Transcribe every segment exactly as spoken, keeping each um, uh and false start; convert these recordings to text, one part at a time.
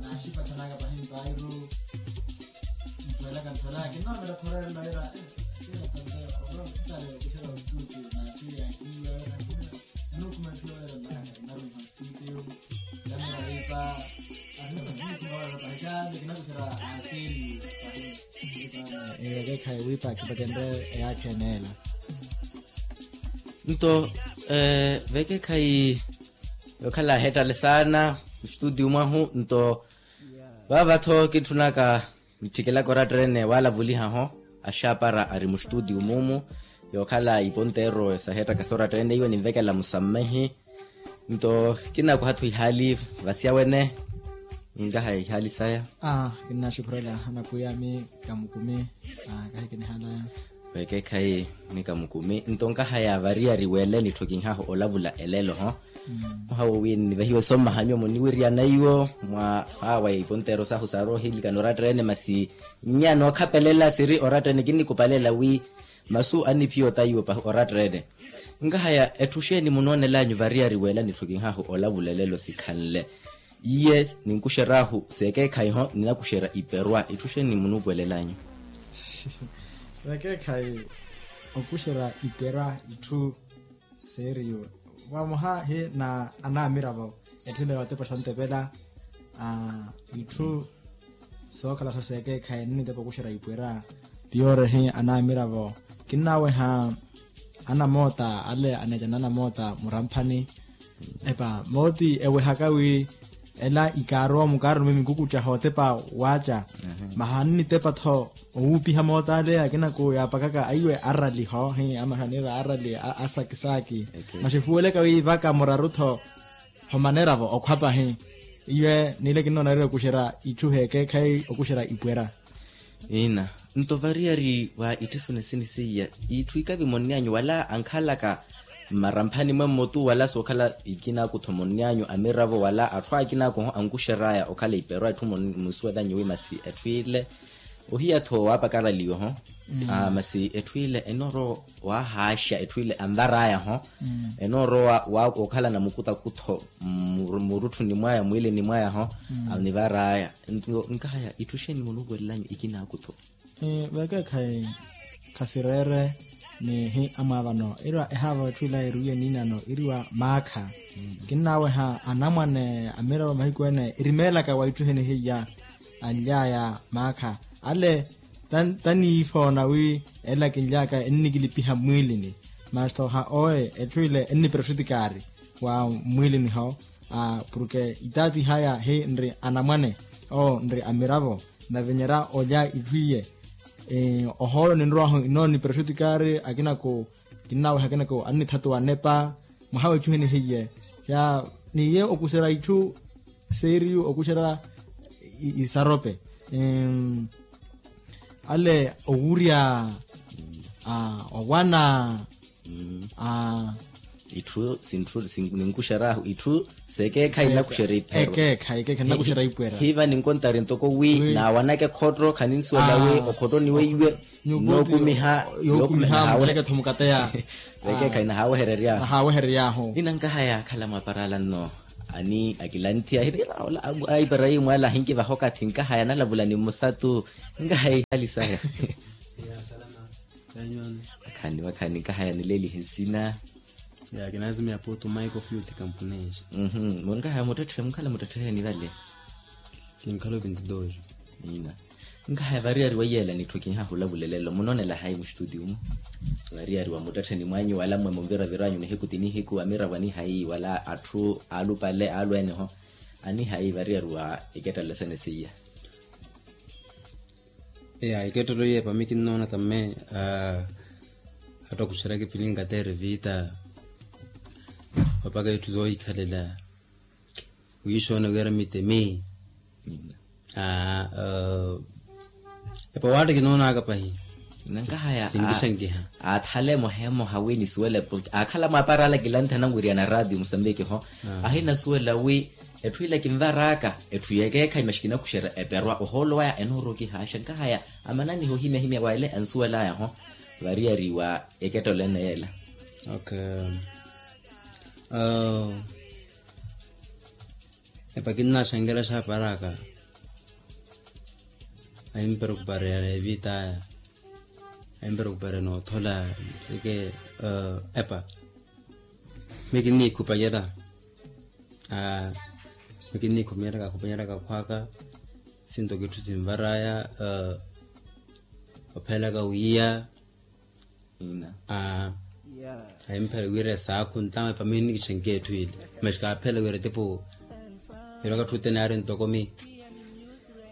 Naaxipathanaka pahi mpairu. Nthuwelaka nthuwelaka kinnoomela khorerela wira. Ekeekhayi wiipa kipakenre eyaakha eneela. Nto vekeekhayi yookhala aheettale saana mustutiyu mwahu nto vaava-tho kitthunaka nittikelaka oratta-ene waalavuliha-ho. Axaapara ari mustutiyu muumu yookhala iponteero saheettaka soratta-ene iwe ninvekela musammehi. Nto kinaakuha-tho ihaali vasiya wene. Nkahaya ihaali saya. Kinnaxukhurela anakwiya ami kamukumi. Kahi kinihalaya. Vekeekhayi ni kamukumi nto nkahaya variyari wele nitthokinhahu olavula elelo-ho. Muhawo wi nivahiwe sommaha nyuwo muniwiriyana iwo mwa awa iponteero sahu saaroohilikana oratta-ene masi nnya nookhapelela siri oratta-ene kinnikupalela wi masu anniphiya otaiwo pahi oratta-ene. Nkahaya etthu xeeni munoonelanyu variyari wela nitthokinhahu olavula elelo sikhanle? Iye ninkuxeryahu seekeekhayi-ho ninakuxerya iperwa itthu xeeni munuupuwelelanyu? Vekeekhayi okuxerya iperwa itthu seeriyo vamoha hi na anamiravo etthu ile yootepa xontepela. Itthu sookhala-tho seekeekhayi ennitepa okuxerya ipwera. Piyoore hi anamiravo kinnaweha anamoota ale aneeca na anamoota muramphani. Epa mooti ewehaka wi ela ikaarowa mukaaroni mwe mikukuttya hootepa waaca. Maha nnitepa-tho owuupiha moota ale akinaku yaapakaka aiwe arali ho hi amaha niira arali a sakisaaki. Maxefuweleka wi vaka muraru-tho homaneravo okhwa pahi. Iwe niile kinnoonarira okuxerya itthu heekeekhayi okuxerya ipwera. Ina nto variyari wa itthisoni sinisiya itthu ikavi monnyanyu wala ankhalaka mmaramphani mwe mmotu wala sookhala ikinaku-tho monnyanyu amiravo wala atthu akinaku-ho ankuxeraya okhala iperwa itthu munsuwelanyu wi masi etthu ile ohiya-tho waapakalaliwa-ho. Masi etthu ile enoorowa waahaaxa etthu ile anvaraya-ho. Enoorowa waakhala na mukutakutho murutthuni mwaya mwiilini mwaya-ho anivaraya. Nkahaya itthu xeeni munuupuwelelanyu ikinaku-tho? Vekeekhayi khasireere ni hi amwaavano iriwa ehaavo etthu ila eruwiye niinano iriwa maakha. Kinnaaweha anamwane amiravo mahiku ene erimeelaka wa itthu heni hiya anly'aya maakha ale taniifoona wi ela kinly'aka ennikilipiha mmwiilini. Masi-tho ha owe etthu ile ennipira oxutikaari wa mmwiilini-ho. Porke itaatih'aya hi nri anamwane owo nri amiravo navinyerya olya itthu iye. Ohoolo ninrow'ahu inoonipira oxutikaari akinaku kinnaaweha akinaku annithatuwa nepa mwaha w'itthu heni hiye. Ni iye okuxerya itthu seeriyu okuxerya isarope ale owurya owana. Itthu sinthu ninkuxeryahu itthu sekeekhayi nnakuxerya ipherwa. Ekeekhayi ekeekhayi nnakuxerya ipwera. Hiiva ninkontari ntoko wi naawanaka ekhotto khaninsuwela wi okhottoni weiwe. Nookumiha yookumiha. Ekeekhayi nahaawehereryaahu. Inankahaya akhala mwaparala nno ani akilanthiya ahirira ola aipara yimwe ala ahinkivaha okathi nkahaya analavula ni mmusatu. Nkahaya ihali saya. Akhani wakhani nkahaya nilelihe nsina. Ya kinaazimiya putu maiko fluti kampuneexa. Nkahaya muttetthe mukhala muttetthe heni vale. Kinkhala ovintidooxi. Ina. Nkahaya variyari wa iyeela nitthu kinhahulavulelelo munoonela hayi mustutiyu-mu? Variyari wa muttettheni mwanyu wala mmwe munviravirwanyu nihiku ti nihiku amiravo anihayi wala atthu aalupale aalweene-ho anihayi variyari wa ikettalelo sene seiya? Eya ikettelelo iye pami kinnoona tamme. Attakuxerya kipilinga teere viita opaka itthu zoohikhalela. Wiixoona wira mitemi. Aa epa waatta kinoonaka pahi. Nankahaya sinkisankiha. Aathale emoha emoha wi nisuwele porke aakhala mwaapara ala kilanthi ananwiriyana raatiyo musambiki ho. Ahinasuwela wi etthu ila kinvaraka etthu yekeekhayi maxi kinakuxerya eperwa ohoolo waya enoorowa okihaaxa nkahaya amananiha ohimyahimya wa ele ansuwelaya ho. Variyari wa ekettelelo ene yeela. Okay. Epa kinnaxankhela xaaparaka. Ahimpera okupareya na evita aya. Ahimpera okupareya noothola. Seke epa mi kinnikhupanyela. Mi kinnikhupanyela kakhupanyela kakhwaka. Sinto kitthu sinvaraya. Ophelaka wiya. Ina. Ahimpela wira esaakhu ntawe pamini nikixenke etthu ile. Mas kaaphela wira tipo yolaka tthute naari ntokomi.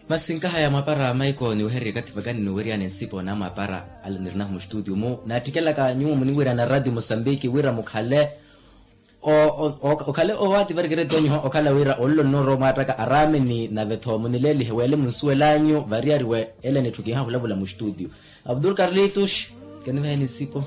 Masi nkahaya mwapara maiko niwehererye kathi vakani niweryani nsipo na mwapara ale nirinahu mustudio mu naattikelaka nyuwo muniwirana radio mosambiki wira mukhale okhale owaati varikireti anyu okhala wira ololo nnooro mwaattaka araameni nave-tho munileelihe weele munsuwelanyu variyari we ele nitthu kihahulavula mustudio. Abdul karlitus, keniveheni nsipo.